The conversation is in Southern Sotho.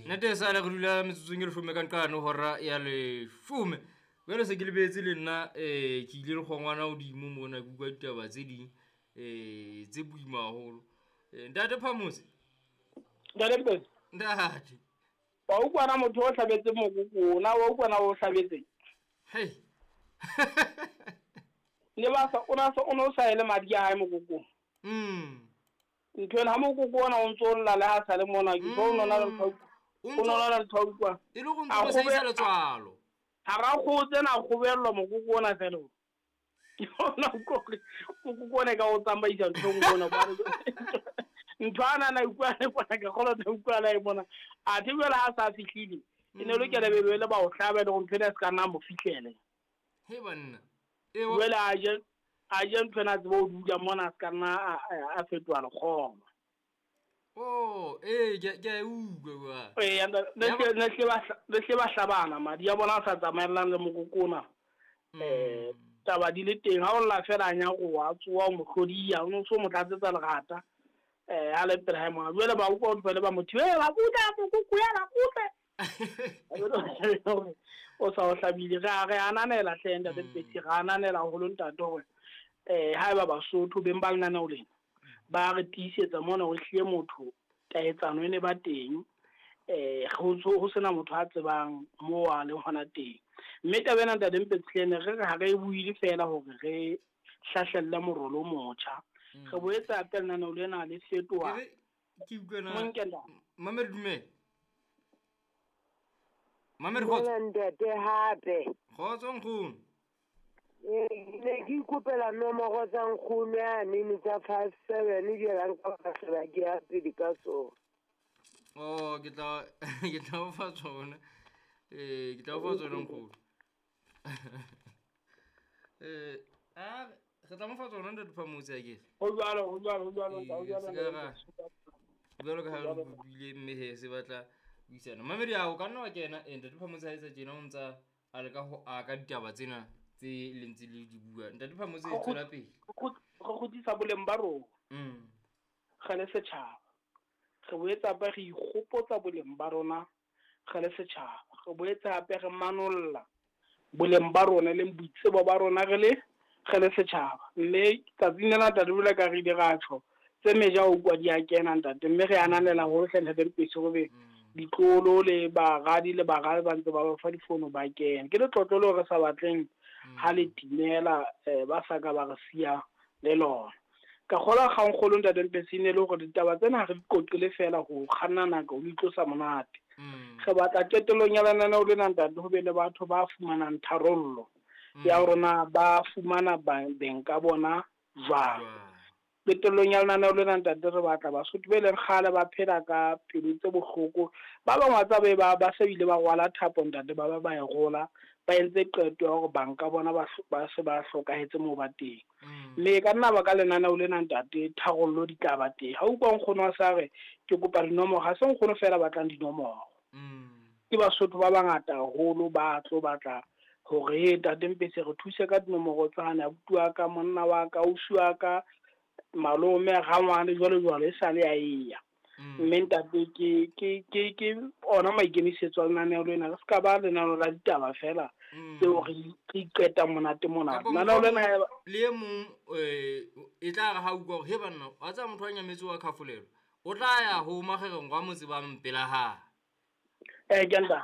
Nnete e sale re dula metsotsong e leshome ka nqane hora ya leshome. Jwale se ke lebetse le nna ke ile le kgongwana hodimo mona ke utlwa ditaba tse ding tse boima haholo. Ntate Phamose. Ntate Mpetsi. Ntate. Wa utlwa na motho o hlabetse mokoko na wa utlwa na o hlabetse? Hey. Ne ba sa o na sa o no sa ele madi a hae mokokong. Ntho ena ha mokoko ona o ntso lla le ha sa le mona ke tlo nona le ntho. O nona le ntho utlwa. E le go ntse o sa letswalo. Ha ra kgotse na kgobellwa mokoko ona fela. Ke bona gore mokoko ona ka o tsamaisa ntho nngwe ona ba ntho ana na utlwa le bona ka kgolo na utlwa la e bona. A the jwale ha sa fihlile. E ne lokela be le ba o hlabe le go ntho ena se ka nna mo fihlele. He banna. Jwale a je ntho ena tsebo o dula mona se ka nna a fetoha lekgoba. Oh, ke a utlwa kwa. Ee, ne hle ba hlabana madi a bona a sa tsamaellang le mokoko ona. Taba di le teng ha o lla fela a nyaroha a tsoha o mo hlodiya o no so mo tlatsetsa lerata. Ha le pele hae mona. Jwale ba utlwa ho le ba motho, ba kutla mokoko ya ba kutle. O sa o hlabile re ananela hle ntate Mpetsi, re ananela haholo ntate hore haeba Basotho beng ba lenaneo lena ba re tiisetsa mona hore ehlile motho taetsano e ne ba teng, ho sena motho a tsebang moo a leng hona teng. Mme taba ena ntate Mpetsi ne re re ha re buile fela hore re hlahlelle morolo o motjha. Re boetse hape lenaneo lena le fetoha. Ke utlwe na. Monkela. Mamedi dumela. Mamedi kgotso. Ntate hape. Kgotso nkgono. Ne ke ikopela nomoro tsa nkgono yane tsa 57 di la nka ba hlola ke ya pele ka tsona. Oh, ke tla ke tla o fa tsona. Ke tla o fa tsona nkgono. A re tla mo fa tsona ntate Phamotse a ke. Ho jwalo, ho jwalo, ho jwalo, ho jwalo. Jwalo ka ha re kopile mme he se batla buisana. Mamedi a o ka nna wa kena ntate Phamotse ha etsa tjena o ntsa a leka ho aka ditaba tsena tse le ntse le di bua. Ntate Phamotse tswela pele. Re kgutlisa boleng ba rona. Re le setjhaba. Re boetse hape re ikgopotsa boleng ba rona re le setjhaba. Re boetse hape re manolla boleng ba rona le boitsebo ba rona re le setjhaba. Mme tsatsing lena ntate jwalo ka re ile ra tjho tse meja o kwa di a kena ntate, mme re ananela haholo hle ntate Mpetsi hore ditlolo le baradi le baradi ba ntse ba ba fa difono ba kena. Ke letlotlo leo re sa batleng ha le timela ba sa ka ba re siya le lona. Ka kgolwa kgangkgolo ntate Mpetsi ne le hore ditaba tsena ha re di qoqele fela ho kganna nako ho itlosa monate. Re batla qetellong ya lenaneo lena ntate ho be le batho ba fumanang tharollo ya rona, ba fumana beng ka bona jwang. Qetellong ya lenaneo lena ntate re batla Basotho be leng kgale ba phela ka pelo tse bohloko. Ba bang wa tsa be ba se bile ba rwala thapo ntate, ba ba e rola, ba entse qeto ya hore banka bona ba se ba hlokahetse moo ba teng. Mme ka nna ba ka lenaneo lena ntate tharollo di tla ba teng. Ha utlwa nkgono wa sa re ke kopa dinomoro, ha se nkgono fela batlang dinomoro. Ke Basotho ba bangata haholo ba tlo batla hore ntate Mpetsi re thuse ka dinomoro tsane, abuti wa ka, monna wa ka, ausi wa ka, malome, rangwane jwalo jwalo e sale ya eya. Mme ntate ke ona maikemisetso a lenaneo lena. Re ska ba lenaneo la ditaba fela tseo re iqetang monate mona. Lenaneo lena le e mong e tla re ha utlwa hore he banna wa tsaya motho wa nyametse wa khafolelo o tla ya ho magereng wa motse ba mpela ha. Ke nta.